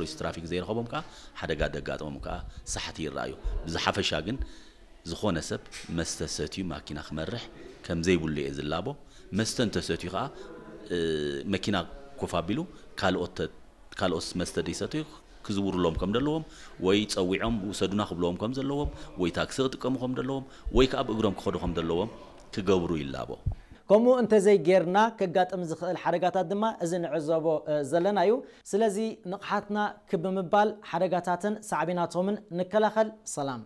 ፖሊስ ትራፊክ ዘይረኸቦም ከዓ ሓደጋ ደጋጥሞም ከዓ ሳሕቲ ይረኣዩ። ብዝሓፈሻ ግን ዝኾነ ሰብ መስተ ሰትዩ ማኪና ክመርሕ ከም ዘይብሉ እየ ዝላቦ። መስተ እንተሰትዩ ከዓ መኪና ኮፍ ኣቢሉ ካልኦት ካልኦት መስተ ደይሰትዩ ክዝውርሎም ከም ዘለዎም ወይ ፀዊዖም ውሰዱና ክብለዎም ከም ዘለዎም ወይ ታክሲ ክጥቀሙ ከም ዘለዎም ወይ ከዓ ብእግሮም ክኸዱ ከም ዘለዎም ክገብሩ ይላቦ። ከምኡ እንተዘይጌርና ከጋጥም ዝኽእል ሓደጋታት ድማ እዚ ንዕዘቦ ዘለና እዩ። ስለዚ ንቕሓትና ክብ ብምባል ሓደጋታትን ሳዕቤናቶምን ንከላኸል። ሰላም።